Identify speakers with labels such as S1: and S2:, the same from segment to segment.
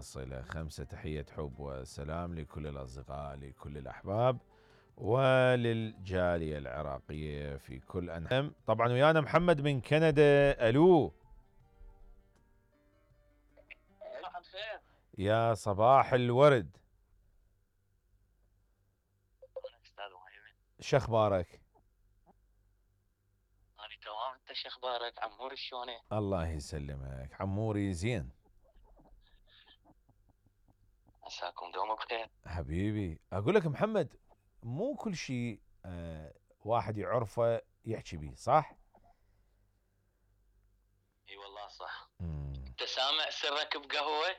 S1: الصلة، 5 تحية حب وسلام لكل الأصدقاء، لكل الأحباب وللجالية العراقية في كل أنحاء. طبعا ويانا محمد من كندا. ألو يا صباح الورد، شخبارك؟
S2: أنا تمام، أنت شخبارك؟ عموري شلونك؟
S1: الله يسلمك عموري، زين
S2: عساكم دوم بخير
S1: حبيبي. أقول لك محمد، مو كل شيء واحد يعرفه يحكي بيه، صح؟
S2: اي والله صح. انت سامع سرك بقهوه؟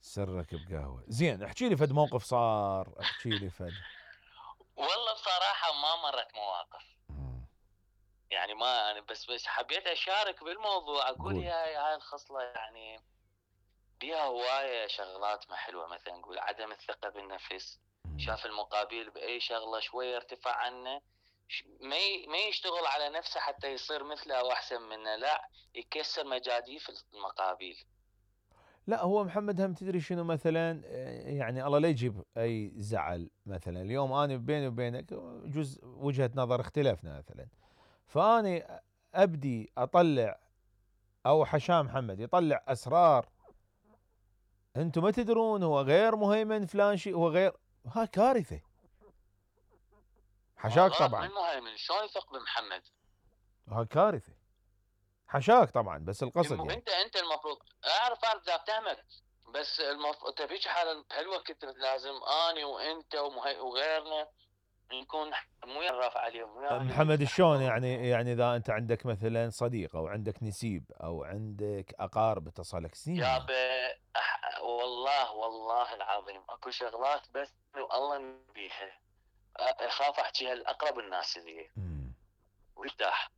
S1: سرك بقهوه، زين احكي لي فد موقف صار، احكي لي فد.
S2: والله بصراحه ما مرت مواقف. يعني ما انا بس حبيت اشارك بالموضوع، اقول هاي الخصله يعني بيها هوايه شغلات ما حلوه، مثلا نقول عدم الثقه بالنفس، شاف المقابل باي شغله شويه ارتفع عنه، ما يشتغل على نفسه حتى يصير مثله او احسن منه، لا يكسر مجاديف المقابل.
S1: لا هو محمد هم تدري شنو مثلا، يعني الله لا يجيب اي زعل. مثلا اليوم انا بيني وبينك جزء وجهة نظر اختلفنا مثلا، فاني ابدي اطلع او حشام محمد يطلع اسرار انتم ما تدرون، هو غير مهيمن فلان شيء، هو غير، ها كارثة. حشاك طبعا.
S2: من مهيمن شلون يثق بمحمد؟
S1: ها كارثة. حشاك طبعا، بس القصد يعني
S2: انت المفروض اعرف لا اتهمك، بس انت فيك حاله بهالوقت لازم اني وانت وغيرنا نكون مو رافع عليهم
S1: محمد. شلون يعني اذا انت عندك مثلا صديق او عندك نسيب او عندك اقارب اتصلك سنين
S2: يا والله العظيم اكو شغلات بس الله نبيها، اخاف احكيها لاقرب الناس لي وارتاح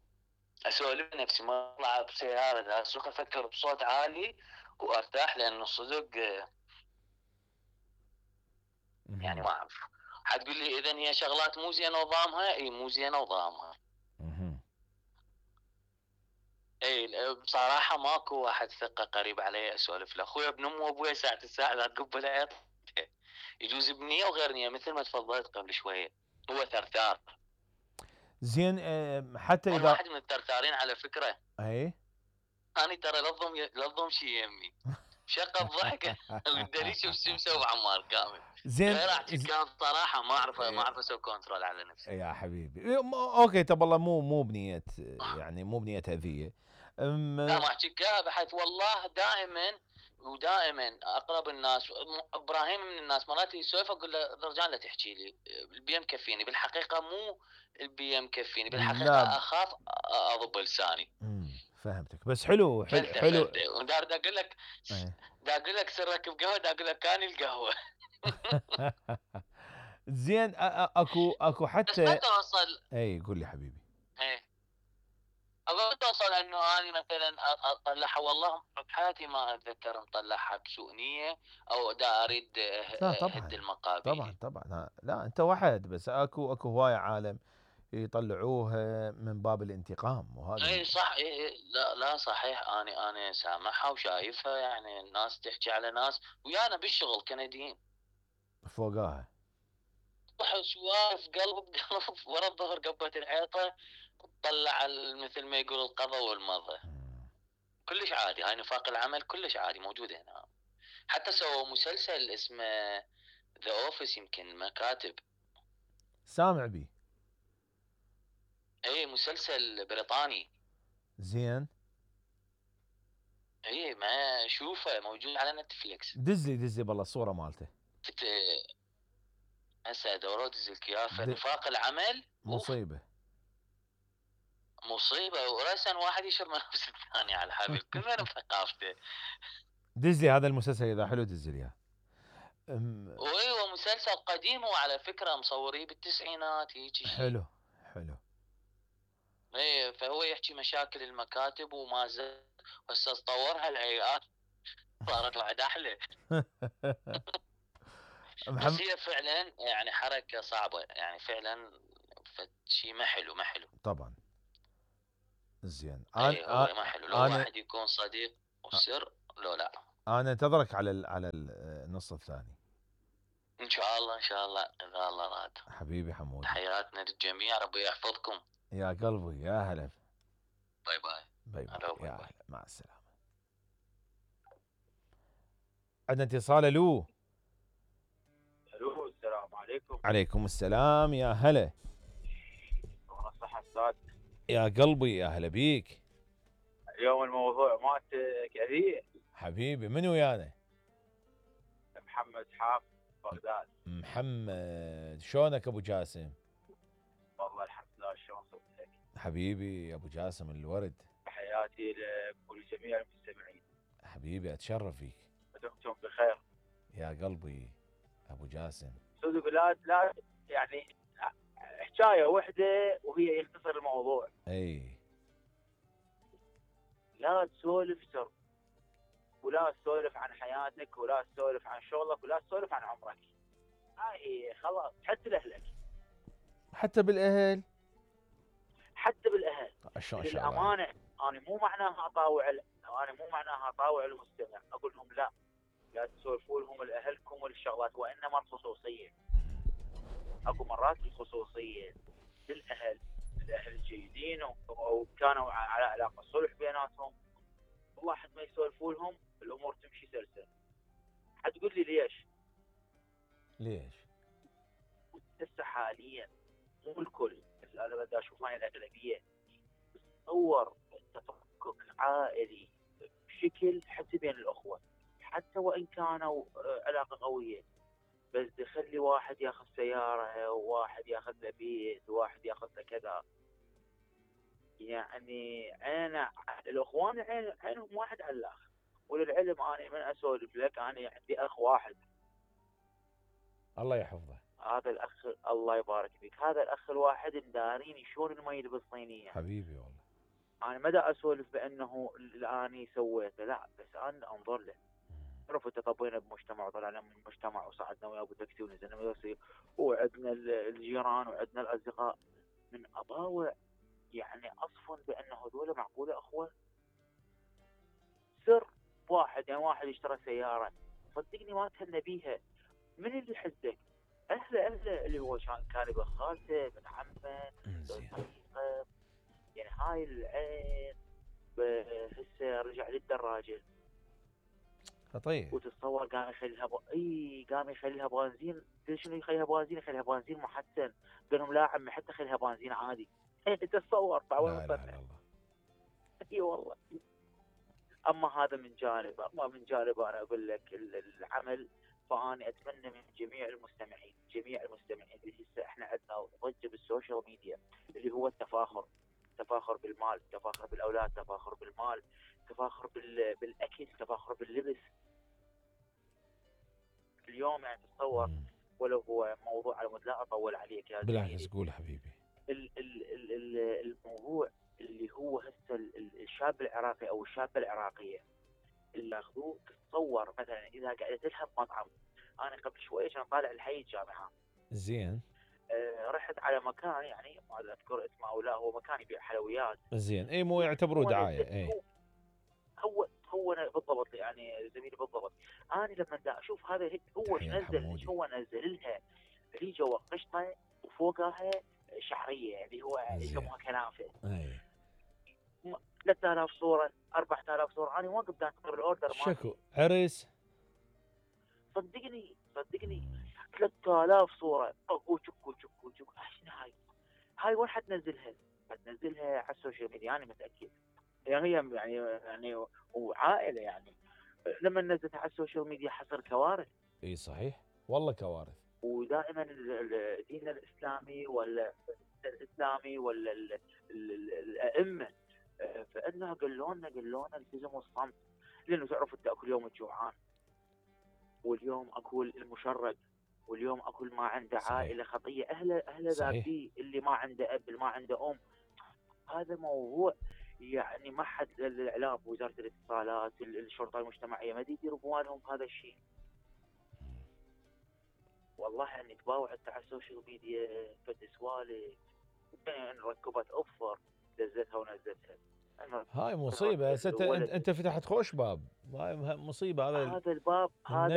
S2: اسولف نفسي، ما اطلع بسياره اسوق افكر بصوت عالي وارتاح، لانه صدق يعني ما اعرف. حتقول لي اذا هي شغلات مو زينه نظامها، اي مو زينه نظامها. اي بصراحه ماكو واحد ثقه قريب علي اسولف له، اخوي ابن امه وابوي ساعه الساعه لا تقبل عيط، يجوز بنيه وغير نيه مثل ما تفضلت قبل شويه، هو ثرثار.
S1: زين حتى اذا
S2: واحد من الثرثارين على فكره.
S1: اي
S2: انا ترى لظم شي يمي شقه الضحك والدليل شوف شو مسوي عمار كامل.
S1: زين
S2: غير احكي كان بصراحه ما اعرف اسوي كنترول على نفسي
S1: يا حبيبي. اوكي طب والله مو بنيه، يعني مو بنيه اذيه.
S2: لا ما احكي بحيث والله دائما اقرب الناس، ابراهيم من الناس مرات يسولف اقول له رجال لا تحكي لي البي مكفيني، بالحقيقه مو البي مكفيني، بالحقيقه اخاف اضب لساني.
S1: فهمتك، بس حلو
S2: فلته ودار اقول لك دا اقول لك سرك بقهوه، دا اقول لك كان القهوه.
S1: زين اكو حتى
S2: بس ما توصل.
S1: اي قول لي حبيبي.
S2: ايه اقول توصل انه انا مثلا اطلعها، والله بحياتي ما اتذكر مطلعها بسوء نيه او دا اريد
S1: لا طبعا
S2: هد المقابيل.
S1: طبعا لا انت وحد، بس اكو هوايه عالم يطلعوها من باب الانتقام، وهذا
S2: اي صح. إيه لا صحيح، انا سامعها وشايفها، يعني الناس تحكي على ناس ويانا بالشغل كنديين
S1: فوقاها
S2: سوالف قلب بقلب ورا الظهر قبة الحيطه، تطلع مثل ما يقول القضا والمضى. كلش عادي، هاي نفاق العمل كلش عادي موجود هنا. حتى سووا مسلسل اسمه ذا اوفيس، يمكن مكاتب
S1: سامع بي.
S2: اي مسلسل بريطاني
S1: زين
S2: اي ما شوفه موجود على نتفليكس.
S1: دزلي بالله الصوره مالته.
S2: هسه دوروا دزلك اياه. فنفاق العمل
S1: مصيبه
S2: وراسا واحد يشر من نفس الثاني على الحبيب كل من بثقافته.
S1: دزلي هذا المسلسل اذا حلو دزلي اياه.
S2: ايوه مسلسل قديم، وعلى فكره مصوريه بالتسعينات هيك شيء.
S1: حلو.
S2: ايه فهو يحكي مشاكل المكاتب وما زال هسه تطورها الهيئات صارت بعد احلى. بس هي فعلا يعني حركه صعبه، يعني فعلا شيء ما حلو
S1: طبعا. زين
S2: هو ما حلو لو واحد يكون صديق وسر لو لا.
S1: انا انتظرك على النص الثاني
S2: ان شاء الله ان شاء الله اذا الله راد.
S1: حبيبي حمودي.
S2: تحياتنا للجميع، ربي يحفظكم.
S1: يا قلبي يا هلا.
S2: باي باي.
S1: باي باي.
S2: هلا باي
S1: يا
S2: باي.
S1: هلا مع السلامة. عندنا اتصال. الو.
S3: الو السلام عليكم.
S1: عليكم السلام يا هلا.
S3: الصحة استاذ.
S1: يا قلبي يا هلا بيك.
S3: اليوم الموضوع مالتك كثير.
S1: حبيبي من ويانا؟
S3: محمد حاف بغداد.
S1: محمد شلونك ابو جاسم؟
S3: والله الحمد لله، شلون صرتك؟
S1: حبيبي يا ابو جاسم الورد.
S3: تحياتي لك ولجميع المستمعين.
S1: حبيبي اتشرف فيك.
S3: ودمتم بخير.
S1: يا قلبي ابو جاسم.
S3: استاذ بلاد، لا يعني حكايه واحده وهي يختصر الموضوع.
S1: اي.
S3: لا تسولف سر، ولا تسولف عن حياتك، ولا تسولف عن شغلك، ولا تسولف عن عمرك. هاي خلاص، حتى لاهلك.
S1: حتى بالاهل.
S3: حتى بالاهل.
S1: شلون
S3: للامانه انا مو معناها اطاوع المستمع، اقول لهم لا تسولفوا لهم لاهلكم والشغلات، وانما الخصوصيه. اكو مرات الخصوصيه للاهل الجيدين وكانوا على علاقه صلح بيناتهم، واحد ما يسولفوا لهم الامور تمشي سلسه. حتقول لي ليش؟ هسه حاليا مو الكل، بس انا بدي اشوف هاي الاغلبيه تصور تفكك عائلي بشكل حتى بين الاخوه، حتى وان كانوا علاقه قويه، بس تخلي واحد ياخذ سياره، وواحد ياخذ له بيت، وواحد ياخذ له كذا. يعني الاخوان عينهم واحد على الاخر. وللعلم انا من اسولف لك، انا عندي اخ واحد.
S1: الله يحفظه.
S3: هذا الاخ الله يبارك فيك، هذا الاخ الواحد مداريني شلون المي بالصينيه.
S1: حبيبي والله.
S3: انا ما دا اسولف بانه اني سويته، لا، بس انا انظر له. عرفت تطبينا بمجتمع وطلعنا من المجتمع وصعدنا ويا ابو تاكسي ونزلنا مدرسه، وعندنا الجيران وعندنا الاصدقاء. من اطاوع يعني اصفن بان هذول معقوله اخوه؟ سر واحد، يعني واحد اشترى سياره، صدقني ما تهنى بيها. من اللي حزك؟ اهله اللي هو كان ابن خالته، ابن عمه، صديقه. يعني هاي العين هسه رجع للدراجه.
S1: خطير.
S3: وتتصور قام يخليها بنزين. شنو يخليها بنزين؟ يخليها بنزين محسن. قال لهم لا عمي، حتى خليها بنزين عادي. تتصور
S1: لا اله الا الله.
S3: اي والله. اما هذا من جانب، انا اقول لك العمل. فاني اتمنى من جميع المستمعين اللي هسه احنا عندنا ضجه بالسوشيال ميديا، اللي هو التفاخر بالمال، تفاخر بالاولاد، تفاخر بالمال، تفاخر بالاكل، تفاخر باللبس. اليوم يعني تتصور، ولو هو موضوع على مود لا اطول عليك يا
S1: بالعكس قول حبيبي.
S3: الموضوع اللي هو هسه الشاب العراقي او الشابه العراقيه اللي اخذوه. تتصور مثلا اذا قعدت لها بمطعم. انا قبل شويه كان طالع الحي الجامعه.
S1: زين.
S3: رحت على مكان، يعني ما اذكر اسمه او لا، هو مكان يبيع حلويات.
S1: زين. اي مو يعتبروه دعايه. اي
S3: هو بالضبط، يعني زميلي بالضبط. انا لما دا اشوف هذا هو نزل لها ريجه وقشطه وفوقها شعريه اللي هو يسموها كنافه.
S1: اي
S3: 3000 صوره 4000 صوره. انا واقف دا انتظر الاوردر مالي.
S1: شكو عرس.
S3: صدقني 3000 صوره وشكو. شنو هاي وين حتنزلها؟ على السوشيال ميديا، انا متاكد. يعني هي يعني وعائله، يعني لما نزلتها على السوشيال ميديا حصل كوارث.
S1: اي صحيح والله كوارث.
S3: ودائما الدين الاسلامي ولا الائمه فانها قالوا لنا التزموا الصمت، لانه تعرفوا انت اكل يوم الجوعان، واليوم اكل المشرد، واليوم اكل ما عنده عائله خطيه، اهله ذابي، اللي ما عنده اب، اللي ما عنده ام. هذا موضوع يعني ما حد الاعلام، وزاره الاتصالات، الشرطه المجتمعيه ما يديروا بوالهم هذا الشيء. والله اني تباوع انت على السوشيال ميديا فد سوالف، ركبت اوفر دزتها ونزلتها.
S1: هاي مصيبه. هسه انت فتحت خوش باب، هاي مصيبه. هذا
S3: الباب هذا